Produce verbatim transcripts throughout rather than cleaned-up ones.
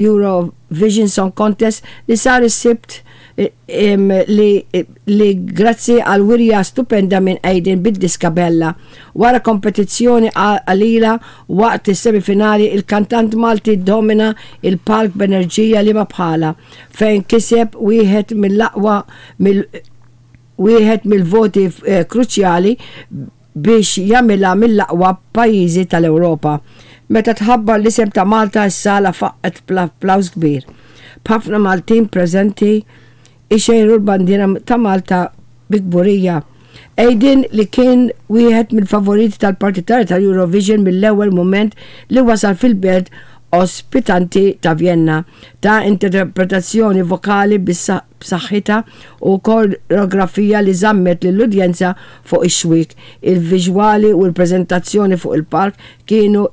Eurovision Song Contest li sar is-Sibt li, li grazzi għal wirja stupenda minn Aiden bid-diska Bella. Wara kompetizzjoni qalila waqt is-semifinali, il-kantant Malti domina il-palk b'enerġija li ma bħala, fejn kiseb wieħed mill-aqwa mill wieħed mill-voti eh, kruċjali biex jagħmilha mill-aqwa pajjiżi tal-Ewropa. Meta tħabbar l-isem ta' Malta, s-sala faqqet applaws kbir, b'ħafna Maltin preżenti ixejru l-bandiera ta' Malta bi kburija. Aiden, li kien wieħed mill-favoriti tal-partitari tal-Eurovision mill-ewwel moment li wasal fil-belt ospitanti ta' Vienna, ta interpretazzjoni vokali b'saħħitha u koreografija li żammet lill-udjenza fuq ix-xwiek. Il-viżwali u l-preżentazzjoni fuq il-palk kienu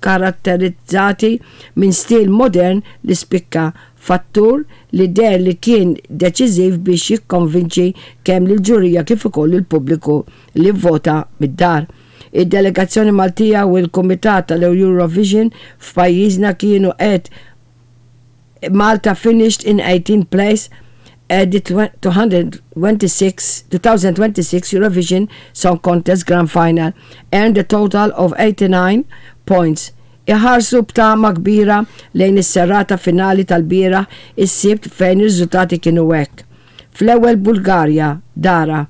karatterizzati minn stil modern li spikka, fattur li deher li kien deċiżiv biex jikkonvinċi kemm lill-ġurija kif ukoll il-pubbliku li vvota mid-dar. Id-delegazzjoni Maltija u l-Kumitat tal-Eurovision f'pajjiżna kienu qed Malta finished in eighteenth place at the twenty twenty-six, twenty twenty-six Eurovision Song Contest Grand Final, earned a total of eighty-nine points. Iħarsu b'tama kbira lejn is-serata finali tal-bieraħ is-Sibt, fejn ir-riżultati kienu hekk. Fl-ewwel Bulgarja, Dara,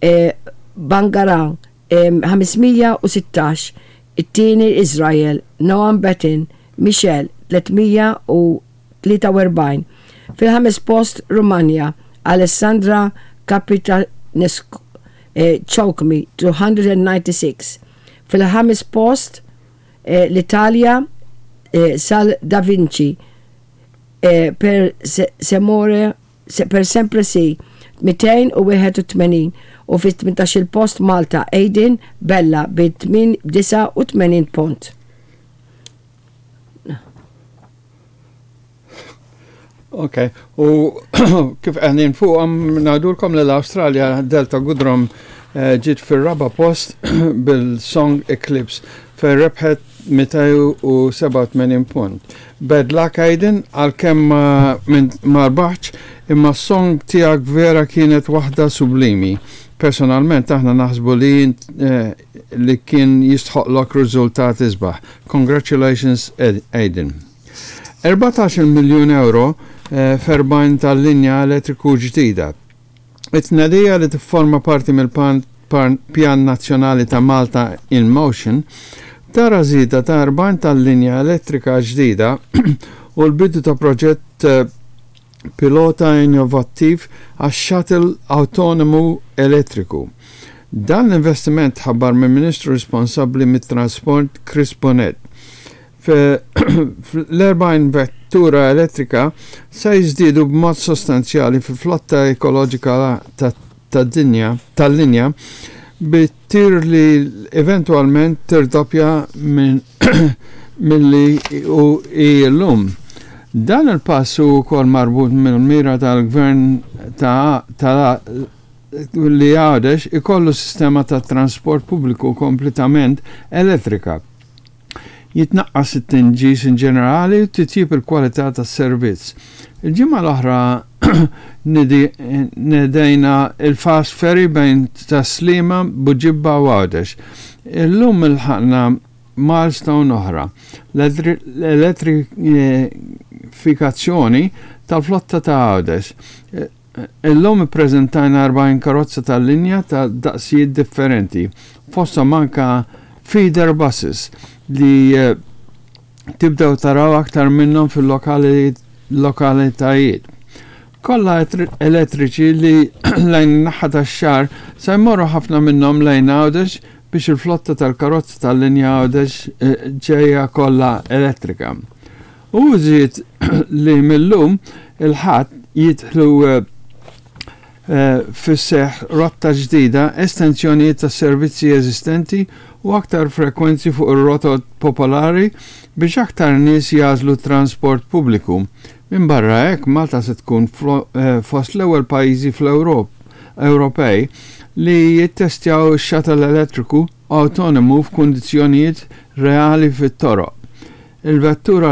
e, Bangaran, e, ħames mija u sittax, it-tieni Israel, Noam Bettan, Michel, tliet mija u tlieta u erbgħin. Fil-ħames post Rumanja, Alessandra Capitanescu, eh, Choke Me, two hundred ninety-six. Fil-ħames post eh, l-Italja, eh, Sal Da Vinci, eh, per se, Semore, se, per Sempre Sì, mitejn u wieħed u tmenin, u fit tmintax il post Malta, Aiden Bella bi disgħa u tmenin punt. Ok, u kif għedin fuqhom ngħidulkom li l-Australia, Delta Goodrem, eh, ġiet fil-raba post bil-song Eclipse, fejn rebħet mitejn u sebgħa u tmenin punt. Bad luck, Aiden, għalkemm ma, ma rbaħx, imma s-song tiegħek vera kienet waħda sublimi. Personalment aħna naħsbu li eh, li kien jistħoqlok riżultat isbaħ. Congratulations, Aiden. erbatax-il miljun euro eh, f'erbgħin tal-linja elettriku ġdida. It-tnedija, li tifforma parti mill-Pjan Nazzjonali ta' Malta in Motion, tara żieda ta' erbgħin tal-linja elettrika ġdida u l-bidu ta' proġett eh, pilota innovattiv għax shuttle autonomu elettriku. Dan l-investiment tħabbar minn Ministru responsabbli mit-trasport Chris Bonett. L-erbgħin vettura elettrika se jiżdiedu b'mod sostanzjali fi flotta ekoloġika tad-dinja tal-linja, bit-tir li eventualment tirdoppja minn milli u illum. Dan il-pass hu wkoll marbut mill-mira tal-gvern ta' ta' li Għawdex ikollu sistema ta' trasport pubbliku kompletament elettrika, jitnaqqas it-tinġis in ġenerali u titjib il-kwalità tas-servizz. Il-ġimgħa l-oħra nedejna il-fast ferry bejn Tas-Sliema, Buġibba u Għawdex. Illum ilħaqna milestone oħra, l-elettrifikazzjoni tal-flotta ta' Għawdex. Illum ippreżentajna erbgħin karozza tal-linja ta' daqsijiet differenti, fosthom anka feeder buses li eh, tibdew taraw aktar minnhom fil-lokalitajiet. Kollha elettriċi li lejn naħa tax-xahar se jmorru ħafna minnhom lejn Għawdex biex il-flotta tal-karozza tal-linja Għawdex eh, ġejja kollha elettrika. U żied li millum il-Ħadd jidħlu eh, eh, fis-seħ rotta ġdida, estensjonijiet ta' servizzi eżistenti u aktar frekwenzi fuq ir-rotot popolari biex aktar nies jagħżlu transport pubbliku. Minn barra hekk, Malta se tkun eh, fost l-ewwel pajjiżi fl-Ewrop Ewropej li jittestjaw shuttle elettriku autonomu f'kundizzjonijiet reali fit-toroq. Il-vettura.